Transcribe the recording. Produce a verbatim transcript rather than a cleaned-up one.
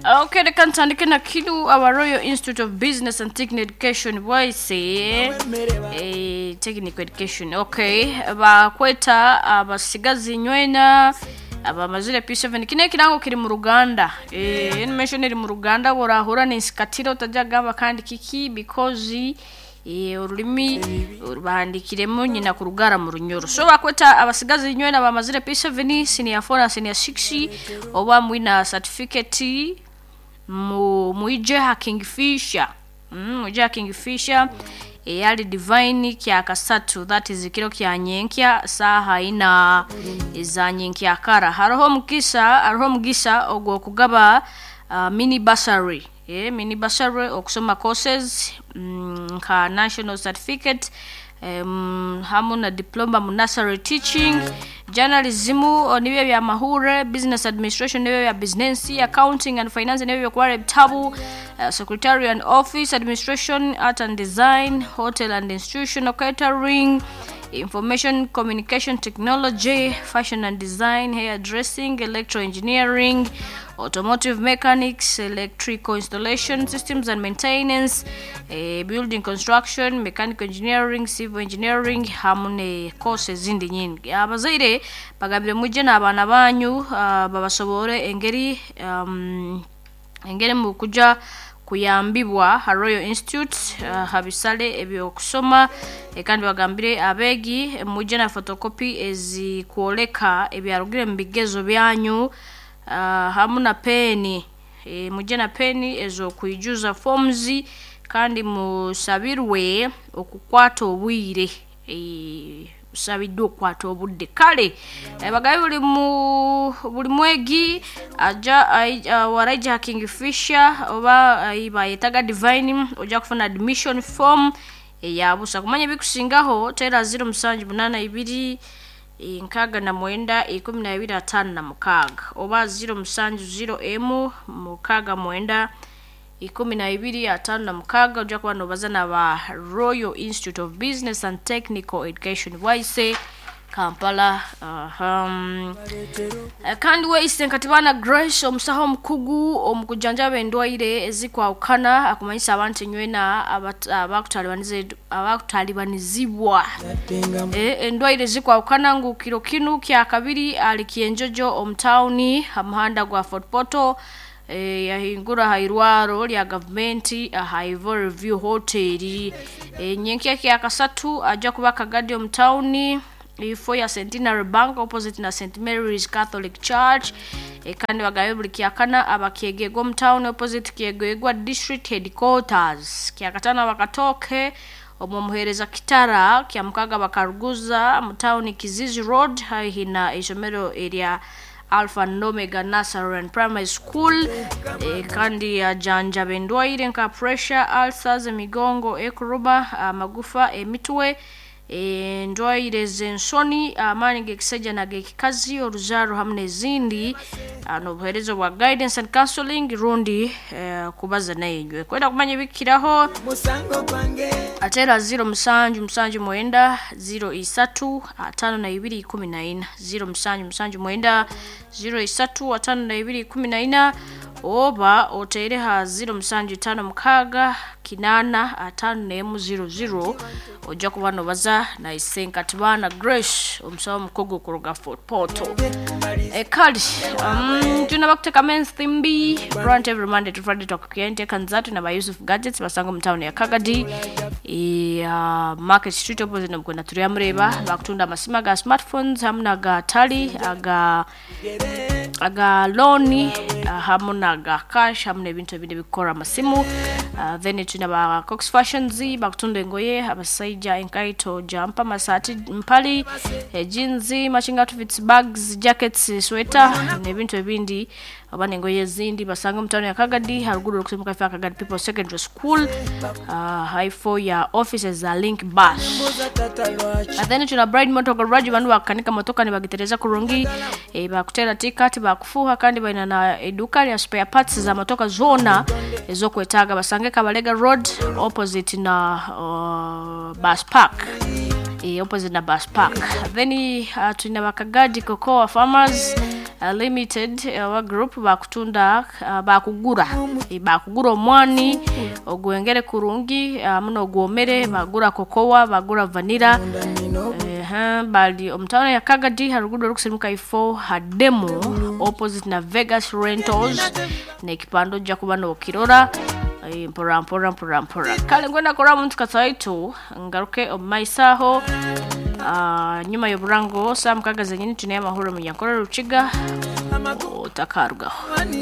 Okay, reka ntandike na kinu aba Royal Institute of Business and Technical Education bwaise eh, technical education. Okay, bakweta abasigazi nywena abamazire P seven. Kino ekirango kiri mu Ruganda, eh animation iri mu Ruganda, borahura n'insikatiro utajya gamba kandi kiki because eh, ururimi bahandikiremo nyina ku rugara mu Runyoro. So bakweta abasigazi nywena bamazire P seven, senior four na senior six, oba mwina certificate, mu mwije ha Kingfisher, mm, mwije ha Kingfisher eyali Divine kya kasatu, that is kiro kya nyenkya saha ina za nyenkya kara. Hariho mukisa, hariho mugisa ogwo kugaba uh, mini bursary, eh, mini bursary okusoma courses mm, nka national certificate um, hamu na diploma mu nursery teaching, journalism o, nibyo bya mahure, business administration nibyo bya business, accounting and finance nibyo byo ebitabu, uh, secretary and office administration, art and design, hotel and institutional catering, information communication technology, fashion and design, hair dressing, electro engineering, automotive mechanics, electrical installation systems and maintenance, eh, building construction, mechanical engineering, civil engineering, hamwe ne courses ezindi nyingi. Abazaire bagambire mujje n'abaana banyu, uh, babasobore engeri um, engeri mu kuja kuyambibwa ha Royal Institute uh, habisale ebyokusoma. eh, kandi bagambire abeegi mujje na photocopy ezikwoleka ebyarugire mu bigezo byanyu, uh, hamu na peni, e, mujje na peni ez'okwijuza forms, kandi musabirwe okukwata obwire, e, musabiddwa okukwata obudde. Kale eh, bagabe buli mu buli mwegi aja uh, waraija Kingfisher oba uh, bayetaga Divine, ojja kufuna admission form eyabusa. Kumanya ebikusingaho tera zero musanju munana ibiri nkaaga na mwenda ikumi na ibiri atano na mukaaga oba zero musanju zero emu mukaaga mwenda ikumi na ibiri atano na mukaaga. Ojja kuba nobaza naba Royal Institute of Business and Technical Education, Bwaise, Kampala. uh, kandi weise Nkatibana Grace, omusaho omukugu omukujanjaba endwaire ezikwawukana, akumanyisa abantu enywena abakutalibanizibwa endwaire ezikwawukana ngu kiro kinu kya kabiri ali Kyenjojo omutawuni ha muhanda gwa Fort Portal, e, yahingura ha irwaro lya gavumenti aha Ivory View Hotel. e, nyenkya kya kasatu ajja kuba Kagadi omutawuni, ifo ya Centenary Bank opposite na Saint Mary's Catholic Church. e, kandi bagabe buli kyakana abakyegegwa omu opposite Kyegegwa District Headquarters. Kyakatano abakatoke omwo muhereza Kitara. Kyamukaga bakaruguza mu town, Kizizi Road, haihi na isomero erya Alpha and Omega Nursery and Primary School. e, kandi ajanjaba endwaire nka pressure, ulcers, emigongo ekuruba, amagufa, emitwe, endwaire z'ensoni, amaani g'ekisajja nag'ekikazi, oruzaaro hamu n'ezindi, n'obuheereza bwa guidance and counseling rundi eh, kubaza nayenywe. Kwenda kumanya ebikiraho atera zero musanju musanju mwenda zero isatu atano na ibiri ikumi na ina, zero musanju musanju mwenda zero isatu atano na ibiri ikumi na ina, oba otere ha zero musanju tano mukaaga kinana atano nemu zero zero. Ojja kuba nobaza na Isenkatibana Grace, omusawo omukugu kuruga Fort Portal. Ekali um, tuna bakuteka ensimbi grant every Monday to Friday, twakukienteka nzatu na ba Yusuf Gadgets, basanga mu town ya Kagadi, e, uh, Market Street opposite nobukwenda turiya mureba. Bakutunda amasima ga smartphones hamu naga tali aga aga loan, uh, hamu naga cash, hamu n'ebintu ebindi ebikukora amasimu. uh, then tuna ba Cox Fashions, bakutunda engoye abasaija, enkaito, jumper, masati, mpali, eh, jeans, matching outfits, bags, jackets, sweater n'ebintu ebindi oba n'engoye ezindi. Basanga mu town ya Kagadi, haruguru okusemuka ife Kagadi People Secondary School, uh, haifo ya offices za Link Bus. And then tuna Bride Motor Garage, bandu bakanika motoka nibagitereza kurungi, e, bakutera ticket, bakufuha, kandi balina na eduka lya spare parts za motoka zona ezokwetaaga. Basange Kabalega Road opposite na uh, bus park, e, opposite na bus park. Then uh, tulina bakagadi Cocoa Farmers. uh, Limited oba group bakutunda uh, bakugura Eh, bakugura omwani ogwengere kurungi hamu n'ogwomere, bagura kokowa, bagura vanilla. Ehe, bali omutawuni ya Kagadi ha rugudo rukusimuka ifo hademu opposite na Vegas Rentals, n'ekipande ojja kuba n'okirora. Eh, mpora mpora mpora mpora. Kale ngwenda kora omuntu kataitu ngaruke omu maiso aho. Ah, nyuma y'oburango saa mukaga zenyini tune amahoro munyankore Rukiga otakarugaho.